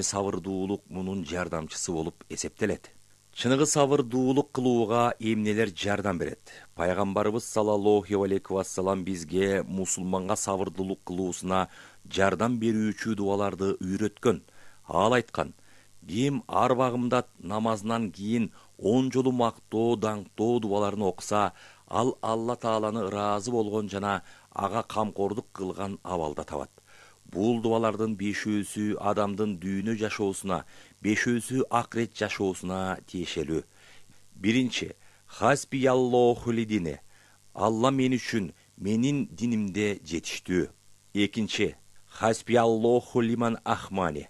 сабырдуулук мунун жардамчысы болуп эсептелет. Чыныгы сабырдуулук кылууга эмнелер жардам берет? Пайгамбарыбыз саллаллаху алейхи вассалам бизге мусулманга сабырдуулук кылуусуна жардам берүүчү дубаларды үйрөткөн. Ал айткан: ким ар багымда намазынан кийин 10 жолу мактоо, даңктоо дубаларын окуса, ал Алла Тааланы ыраазы болгон жана ага камкордук кылган абалда табат. Бул дубалардын 5-өсү адамдын дүйнө жашоосуна, 5-өсү акырет жашоосуна тиешелүү. Биринчи, хасбияллоху лидине. Алла мен үчүн менин динимде жетиштүү. Экинчи, хасбияллоху лиман ахмани.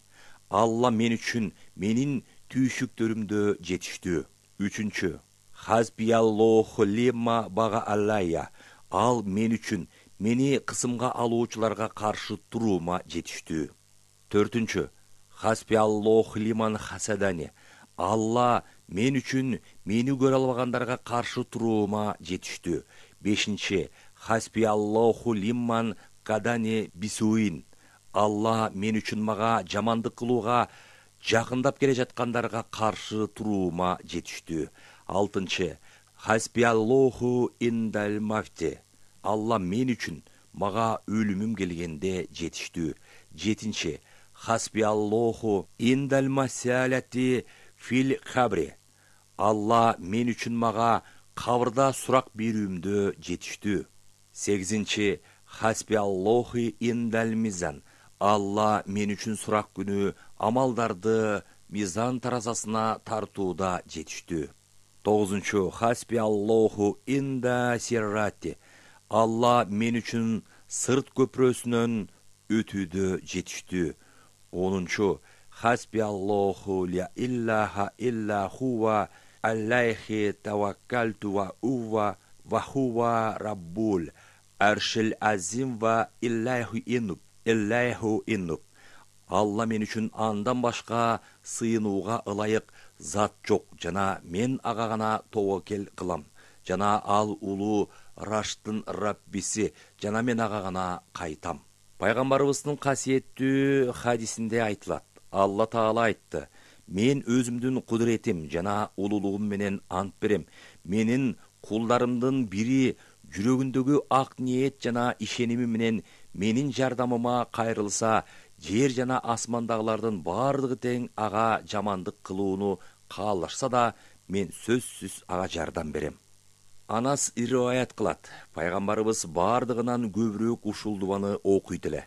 Алла мен үчүн менин түйшүктөрүмдө жетиштүү. Үчүнчү, хасбияллоху лима бага аллайя. Ал мен үчүн мени кысымга алуучуларга каршы туруума жетиштүү. Төртүнчү, хасбияллоху лиман хасадани. Алла мен үчүн мени көрө албагандарга каршы туруума жетиштүү. Бешинчи, хасбияллоху лиман кадани бисуин. Алла мен үчүн мага жамандык кылууга жакындап келе жаткандарга каршы туруума жетиштүү. Алтынчы, хасбияллоху индал мафти. Алла мен үчүн мага өлүмүм келгенде жетиштүү. Жетинчи, хасбияллоху индал масалати фил хабри. Алла мен үчүн мага кабырда сурак берүүмдө жетиштүү. Сегизинчи, хасбияллоху индал мизан. Алла мен үчүн сурак күнү амалдарды мизан таразасына тартууда жетиштүү. Тогузунчу, хасбияллоху инда сиррати. Алла мен үчүн сырт көпүрөсүнөн өтүүдө жетиштүү. Онунчу, хасбияллоху ля иллаха илля хува аллайхи таваккалту ва ува ва хува раббул аршил азим ва иллаху иннуб. Алла мен үчүн андан башка сыйынууга ылайык зат жок жана мен ага гана тобокел кылам. Жана ал улуу Раштын Раббиси жана мен ага гана кайтам. Пайгамбарыбыздын касиеттүү хадисинде айтылат: Алла Таала айтты: мен өзүмдүн кудуретим жана улуулугум менен ант берем. Менин кулдарымдын бири жүрөгүндөгү ак ниет жана ишеними менен менин жардамыма кайрылса, жер жана асмандагылардын бардыгы тең ага жамандык кылууну каалашса да, мен сөзсүз ага жардам берем. Анас риваят кылат: пайгамбарыбыз бардыгынан көбүрөөк ушул дубаны окуйт эле.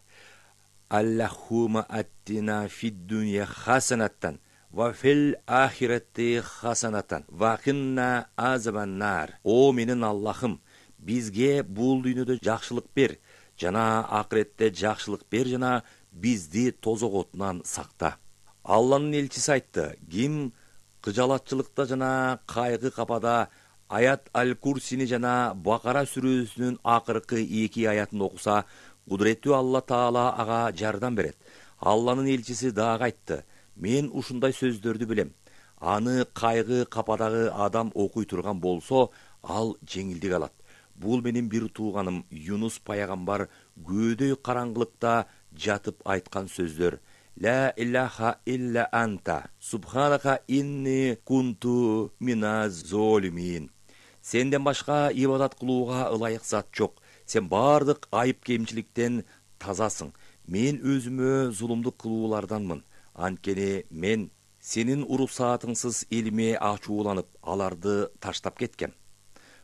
Аллахума аттина фид дунья хасанаттан ва фил ахирати хасанаттан ва кинна азабаннар. О менин Аллахым, бизге бул дүйнөдө жакшылык бер жана акыретте жакшылык бер жана бизди тозок отунан сакта. Алланын элчиси айтты: ким кыжалатчылыкта жана кайгы капада аят аль-Курсини жана Бакара сүрөсүнүн акыркы 2 аятын окуса, кудуреттүү Алла Таала ага жардам берет. Алланын элчиси дагы айтты: мен ушундай сөздөрдү билем. Аны кайгы кападагы адам окуй турган болсо, ал жеңилдик алат. Бул менин бир тууганым Юнус пайгамбар көөдөй караңгылыкта жатып айткан сөздөр: Ла илляха илля анта субханака инни кунту миназ золимин. Сенден башка ибадат кылууга ылайык зат жок. Сен бардык айып кемчиликтен тазасың. Мен өзүмө зулумдук кылууларданмын. Анткени мен сенин уруксаатыңсыз элиме ачууланып, аларды таштап кеткем.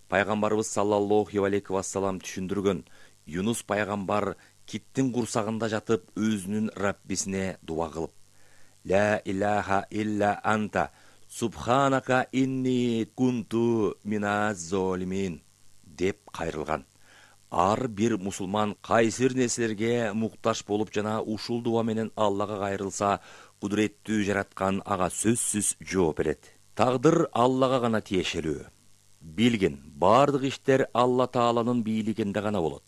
Пайгамбарыбыз саллаллаху алейхи вассалам түшүндүргөн: Юнус пайгамбар киттин курсагында жатып өзүнүн Раббисине дуа кылып: Ла илляха илля анта субханака инни кунту миназ золимин деп кайрылган. Ар бир мусулман кайсыр нерселерге муктаж болуп жана ушул дуа менен Аллага кайрылса, кудуреттүү жараткан ага сөзсүз жооп берет. Тагдыр Аллага гана тиешелүү. Билгин, бардык иштер Алла Тааланын бийлигинде гана болот.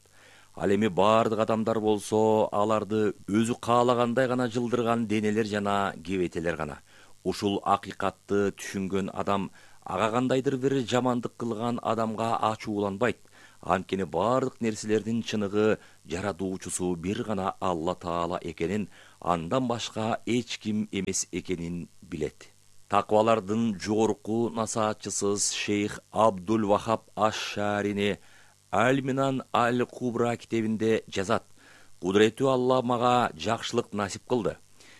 Ал эми бардык адамдар болсо, аларды өзү каалагандай гана жылдырган денелер жана кебетелер гана. Ушул акыйкатты түшүнгөн адам ага кандайдыр бир жамандык кылган адамга ачууланбайт. Анткени бардык нерселердин чыныгы жаратуучусу бир гана Алла Таала экенин, андан башка эч ким эмес экенин билет. Таквалардын жогорку насаатчысыз шейх Абдул Вахаб Аш-Шарини Аль-Минан Аль-Кубра китебинде жазат: Кудуреттүү Алла мага жакшылык насип кылды.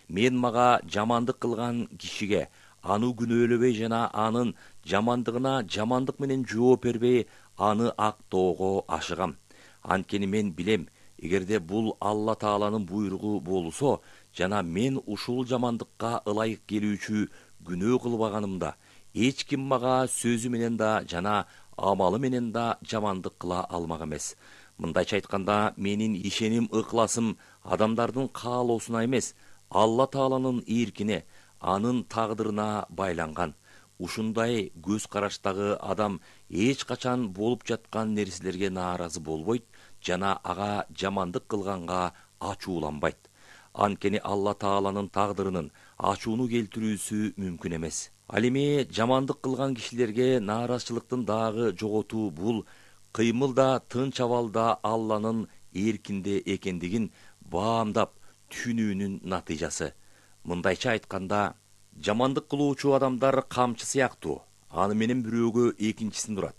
Мен мага жамандык кылган кишиге аны күнөөлөбөй жана анын жамандыгына жамандык менен жооп бербей, аны актоого ашыгам. Анткени мен билем, эгерде бул Алла Тааланын буйругу болсо, жана мен ушул жамандыкка ылайык келүүчү күнөө кылбаганымда, эч ким мага сөзү менен да жана амалы менен да жамандык кыла алмак эмес. Мындайча айтканда, менин ишеним ыкласым адамдардын каалоосуна эмес, Алла Тааланын эркине, анын тагдырына байланган. Ушундай көз караштагы адам эч качан болуп жаткан нерселерге нааразы болбойт жана ага жамандык кылганга ачууланбайт. Анткени Алла Тааланын тагдырынын ачууну келтирүүсү мүмкүн эмес. Ал эми жамандык кылган кишилерге нааразычылыктын дагы жоготуу бул кыймыл да тынч абалда Алланын эркинде экендигин баамдап түшүнүүнүн натыйжасы. Мындайча айтканда, жамандык кылуучу адамдар камчы сыяктуу, аны менен бирөөгө экинчисин турат.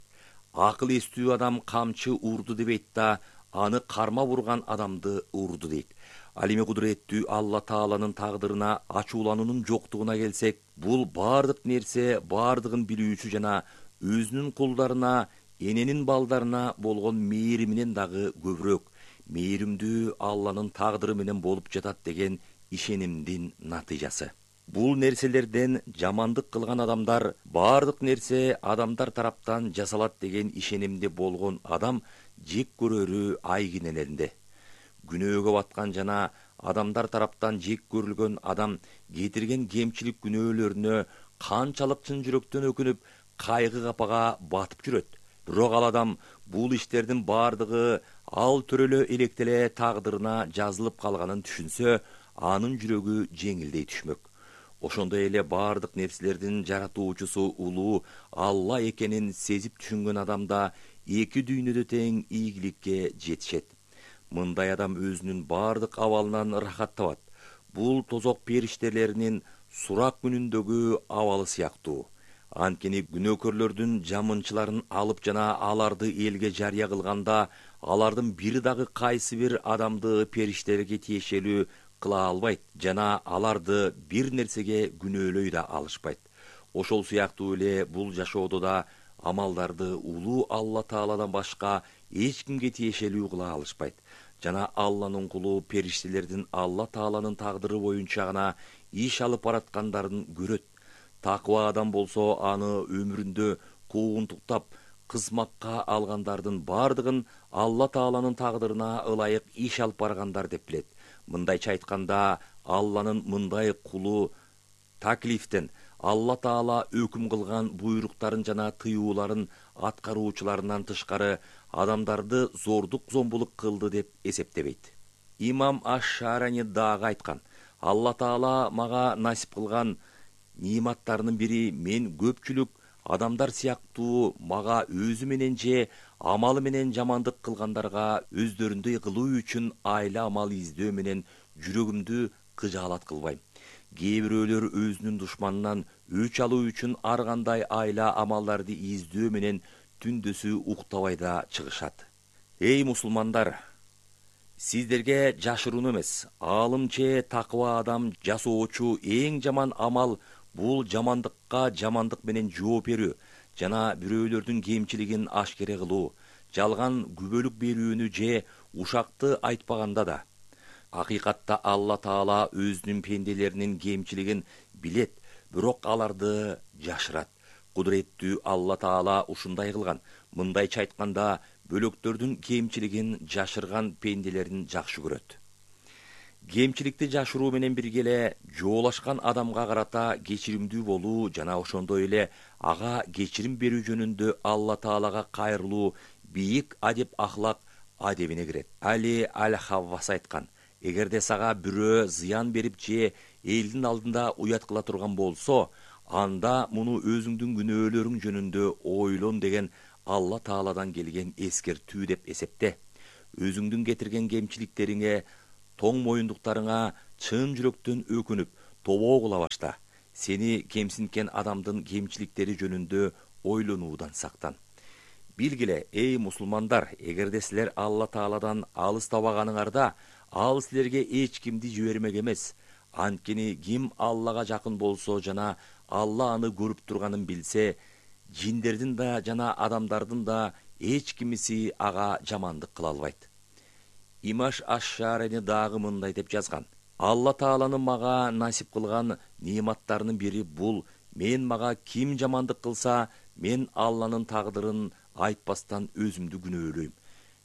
Акыл эстүү адам камчы урду дебейт да, аны карма бурган адамды урду дейт. Ал эми кудуреттүү Алла Тааланын тагдырына ачуулануунун жоктугуна келсек, бул бардык нерсе бардыгын билүүчү жана өзүнүн кулдарына, эненин балдарына болгон мээриминен дагы көбүрөөк мээримдүү Алланын тагдыры менен болуп жатат деген ишенимдин натыйжасы. Бул нерселерден жамандык кылган адамдар, бардык нерсе адамдар тараптан жасалат деген ишенимде болгон адам жек көрөрү айгинелеринде. Күнөөгө баткан жана адамдар тараптан жек көрүлгөн адам кетирген кемчилик күнөөлөрүнө канчалык чын жүрөктөн өкүнүп, кайгы капага батып жүрөт. Бирок ал адам бул иштердин бардыгы ал төрөлө электеле тагдырына жазылып калганын түшүнсө, анын жүрөгү жеңилдей түшмөк. Ошондой эле бардык нерселердин жаратуучусу улуу Алла экенин сезип түшүнгөн адамда эки дүйнөдө тең ийгиликке жетишет. Мындай адам өзүнүн бардык абалынан ырахат табат. Бул тозок периштелеринин сурак күнүндөгү абалы сыяктуу. Анткени күнөөкөрлөрдүн жамынчыларын алып жана аларды элге жарыя кылганда, алардын бири дагы кайсы бир адамды периштелерге тиешелүү кыла албайт жана аларды бир нерсеге күнөөлөй да алышпайт. Ошол сыяктуу эле бул жашоодо да амалдарды улуу Алла Тааладан башка эч кимге тиешелүү кыла алышпайт. Жана Алланын кулу периштелердин Алла Тааланын тагдыры боюнча гана иш алып бараткандарын көрөт. Таква адам болсо аны өмүрүндө куугунтуктап, кызмакка алгандардын бардыгын Алла Тааланын тагдырына ылайык иш алып баргандар деп билет. Мындайча айтканда, Алланын мындай кулу таклифтен Алла Таала өкүм кылган буйруктарын жана тыюуларын аткаруучуларынан тышкары адамдарды зордук-зомбулук кылды деп эсептебейт. Имам Аш-Шарани дагы айткан: Алла Таала мага насип кылган ниматтарынын бири мен көпчүлүк адамдар сыяктуу мага өзү менен же амалы менен жамандык кылгандарга өздөрүндөй кылуу үчүн айла амал издөө менен жүрөгүмдү кыжаалат кылбайм. Кээ бирөөлөр өзүнүн душманынан өч алуу үчүн ар кандай айла амалдарды издөө менен түндөсү уктабай да чыгышат. Эй мусулмандар, сиздерге жашырууну эмес, аалым же таква адам жасоочу эң жаман амал бул жамандыкка жамандык менен жооп берүү жана бирөөлөрдүн кемчилигин ашкере кылуу, жалган күбөлүк берүүнү же ушакты айтпаганда да. Акыйкатта Алла Таала өзүнүн пенделеринин кемчилигин билет, бирок аларды жашырат. Кудуреттүү Алла Таала ушундай кылган. Мындайча айтканда, бөлөктөрдүн кемчилигин жашырган пенделерин жакшы көрөт. Кемчиликти жашыруу менен бирге эле жоолашкан адамга карата кечиримдүү болуу жана ошондой эле ага кечирим берүү жөнүндө Алла Таалага кайрылуу бийик адеп ахлак адебине кирет. Али Аль-Хаввас айткан: эгерде сага бирөө зыян берип же элдин алдында уят кыла турган болсо, анда муну өзүңдүн күнөөлөрүң жөнүндө ойлон деген Алла Тааладан келген эскертүү деп эсепте. Өзүңдүн кетирген кемчиликтериңе, тоң моюндуктарыңа чын жүрөктөн өкүнүп, тобоо кыла башта. Сени кемсинткен адамдын кемчиликтери жөнүндө ойлонуудан сактан. Билгиле, эй мусулмандар, эгерде силер Алла Тааладан алыстабаганыңарда, ал силерге эч кимди жибермек эмес. Анткени ким Аллага жакын болсо жана Алла аны көрүп турганын билсе, жиндердин да жана адамдардын да эч кимиси ага жамандык кыла албайт. Имаш Аш-Шарени дагы мындай деп жазган: Алла Тааланын мага насип кылган неиматтарынын бири бул: мен мага ким жамандык кылса, мен Алланын тагдырын айтпастан өзүмдү күнөөлөйм.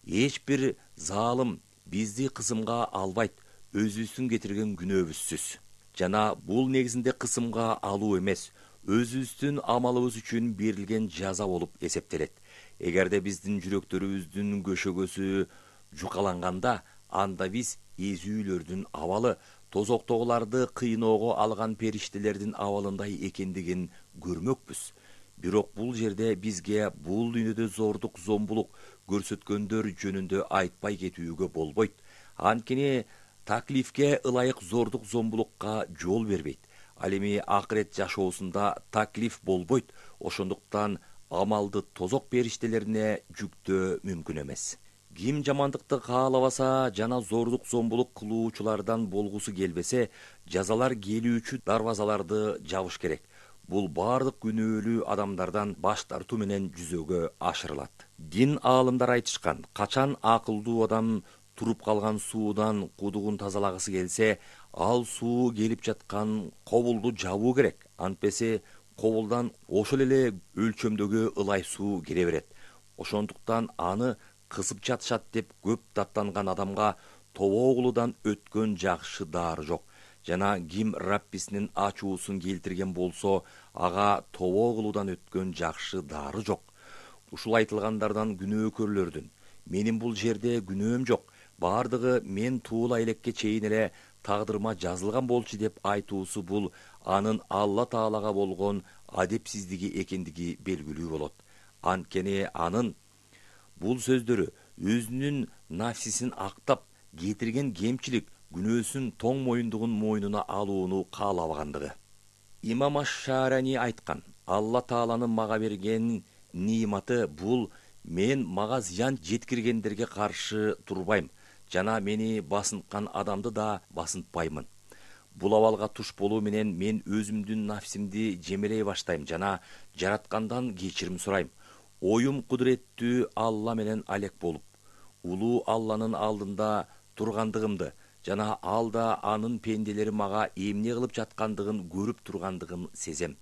Эч бир залым бизди кысымга албайт, өзүбүздүн кетирген күнөөбүзсүз. Жана бул негизинде кысымга алуу эмес, өзүбүздүн амалыбыз үчүн берилген жаза болуп эсептелет. Эгерде биздин жүрөктөрүбүздүн көшөгөсү жукаланганда, анда биз эзүүлөрдүн абалы, тозоктогуларды кыйноого алган периштелердин абалындай экендигин көрмөкпүз. Бирок бул жерде бизге бул дүйнөдө зордук, зомбулук көрсөткөндөр жөнүндө айтпай кетүүгө болбойт. Анткени таклифке ылайык зордук, зомбулукка жол бербейт. Ал эми акырет жашоосунда таклиф болбойт. Ошондуктан амалды тозок периштелерине жүктөө мүмкүн эмес. Ким жамандыкты каалабаса жана зордук, зомбулук кылуучулардан болгусу келбесе, жазалар келүүчү дарбазаларды жабыш керек. Бул бардык күнөөлүү адамдардан баш тартуу менен жүзөгө ашырылат. Дин аалымдар айтышкан: качан акылдуу адам туруп калган суудан кудугун тазалагысы келсе, ал суу келип жаткан кобулду жабуу керек. Антпесе кобулдан ошол эле өлчөмдөгү ылай суу кире берет. Ошондуктан аны кысып жатышат деп көп даттанган адамга тобоо кылуудан өткөн жакшы дары жок. Жана ким Раббисинин ачуусун келтирген болсо, ага тобоо кылуудан өткөн жакшы дары жок. Ушул айтылгандардан күнөөкөрлөрдүн: менин бул жерде күнөөм жок, бардыгы мен туула элекке чейин эле тагдырыма жазылган болчу деп айтуусу, бул анын Алла Таалага болгон адепсиздиги экендиги белгилүү болот. Анткени анын бул сөздөрү өзүнүн нафсисин актап, кетирген кемчилик, күнөөсүн тоң моюндугун мойнуна алууну каалабагандыгы. Имам Аш-Шарени айткан: Алла Тааланын мага берген неиматы бул: мен мага зыян жеткиргендерге каршы турбайм, жана мени басынткан адамды да басынтпаймын. Бул абалга туш болуу менен мен өзүмдүн нафсимди жемелей баштайм жана жараткандан кечирим сурайм. Оюм кудуреттүү Алла менен алек болуп, улуу Алланын алдында тургандыгымды жана ал да анын пенделери мага эмне кылып жаткандыгын көрүп тургандыгын сезем.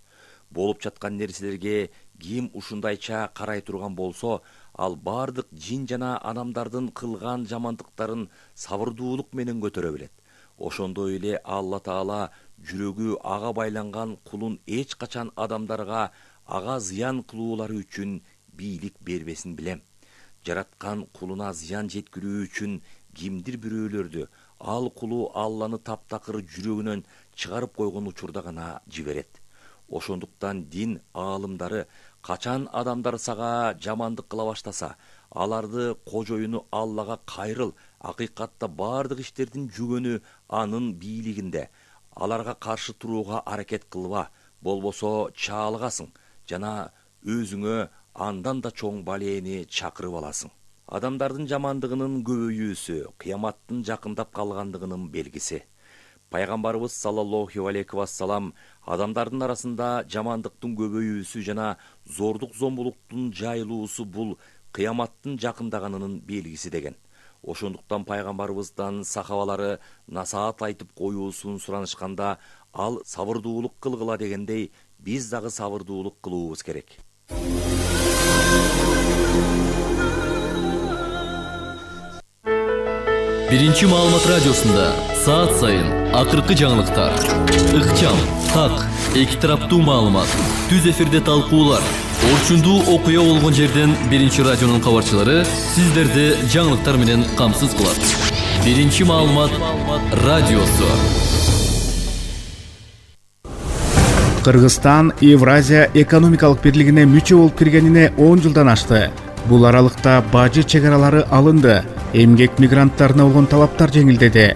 Болуп жаткан нерселерге ким ушундайча карай турган болсо, ал бардык жин жана адамдардын кылган жамандыктарын сабырдуулук менен көтөрө билет. Ошондой эле Алла Таала жүрөгү ага байланган кулун эч качан адамдарга ага зыян кылуулары үчүн бийлик бербесин билем. Жараткан кулуна зыян жеткирүү үчүн кимдир бирөөлөрдү ал кулу Алланы таптакыр жүрөгүнөн чыгарып койгон учурда гана жиберет. Ошондуктан дин аалымдары качан адамдар сага жамандык кыла баштаса, аларды кожоюну Аллага кайрыл, акыйкатта бардык иштердин жүгөнү анын бийлигинде. Аларга каршы турууга аракет кылба, болбосо чаалыгасың жана өзүңө андан да чоң балээни чакырып аласың. Адамдардын жамандыгынын көбөйүүсү кыяматтын жакындап калгандыгынын белгиси. Пайгамбарыбыз саллаллаху алейхи вассалам адамдардын арасында жамандыктын көбөйүүсү жана зордук, зомбулуктун жайылуусу бул кыяматтын жакындаганынын белгиси деген. Ошондуктан пайгамбарыбыздан сахабалары насаат айтып коюусун суранышканда, ал сабырдуулук кылгыла дегендей, биз дагы сабырдуулук кылуубуз керек. Биринчи маалымат радиосунда саат сайын акыркы жаңылыктар, ыкчам, так, эки тараптуу маалымат, түз эфирде талкуулар, орчундуу окуя болгон жерден биринчи радионун кабарчылары сиздерди жаңылыктар менен камсыз кылат. Биринчи маалымат радиосу. Кыргызстан Евразия экономикалык бирлигине мүчө болуп киргенине 10 жылдан ашты. Бул аралыкта бажы чегаралары алынды, эмгек мигранттарына болгон талаптар жеңилдеди,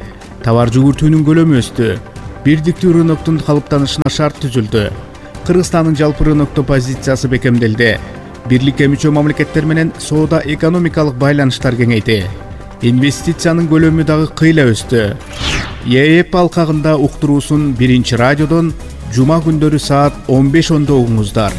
товар жүгүртүүнүн көлөмү өстү, бирдиктүү рыноктун калыптанышына шарт түзүлдү. Кыргызстандын жалпы рынокто позициясы бекемделди. Бирликке мүчө мамлекеттер менен соода экономикалык байланыштар кеңейди. Инвестициянын көлөмү дагы кыйла өстү. ЕЭП алкагында уктуруусун 1 радиодон жума күндөрү саат 15:10 угуңуздар.